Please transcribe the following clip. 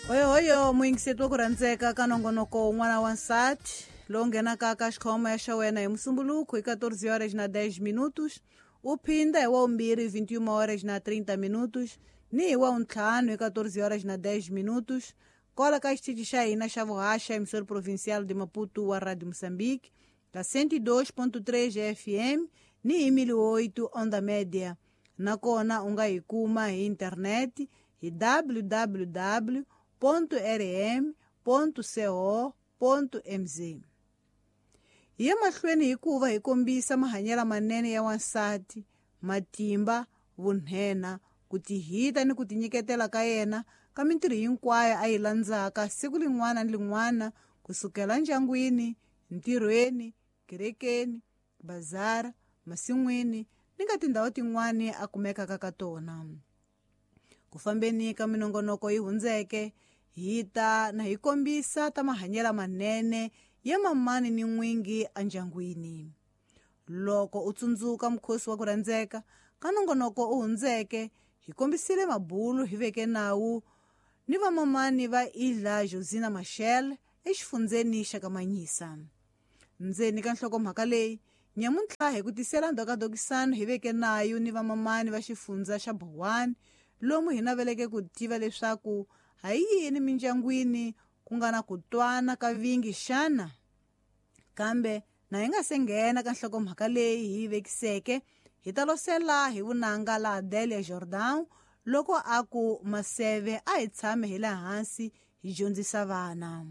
Hoyohoyo muyingiseti wa ku rhandzeka ka nongonoko wun'wana wa nsati lowu nghenaka ka xikhoma ya xa wena hi musumbuluku hi 14 horas na 10 minutos, u phinda hi wawumbirhi 21 horas na 30 minutos ni hi wawuntlhanu hi 14 horas na 10 minutos kola ka xitichi xa hina xa vuhaxa emissora provincial de Maputo wa Radio Moçambique ka 102.3 FM ni hi 1008 onda média. Nakona u nga hi kuma hi internet hi www.rm.co.mz. Hi ya mahlweni hikuva hi kombisa mahanyelo manene ya wansati, matimba, vunhena, ku tihita ni ku tinyiketela ka yena ka mintirho hinkwayo a yi landzaka siku lin'wana ni lin'wana kusukela ndyangwini, ntirhweni, kerekeni, bazara, masin'wini ni ka tindhawu tin'wana a kumekaka ka tona. Ku fambeni ka minongonoko yi hundzeke hi ta na hi kombisa ta mahanyelo manene ya mamani ni n'wingi endyangwini. Loko u tsundzuka mukhosi wa ku rhandzeka ka nongonoko u hundzeke, hi kombisile mabulu hi veke nawu ni vamamani va Ilha Josina Machel exifundzeni xa Kamanyisa. Ndzeni ka nhlokomhaka leyi nyamuntlha hi ku tisela ndhokadokisano hi veke nayo ni vamamani va xifundza xa Bowani, lomu hi naveleke ku tiva leswaku ha yini mindyangwini ku nga na ku twana ka vingi xana. Kambe na hi nga se nghena ka nhlokomhaka leyi hi yi vekiseke, hi ta losela hi vunanga la Adelia Jordan loko a ku maseve a hi tshame hi le hansi hi dyondzisa vana.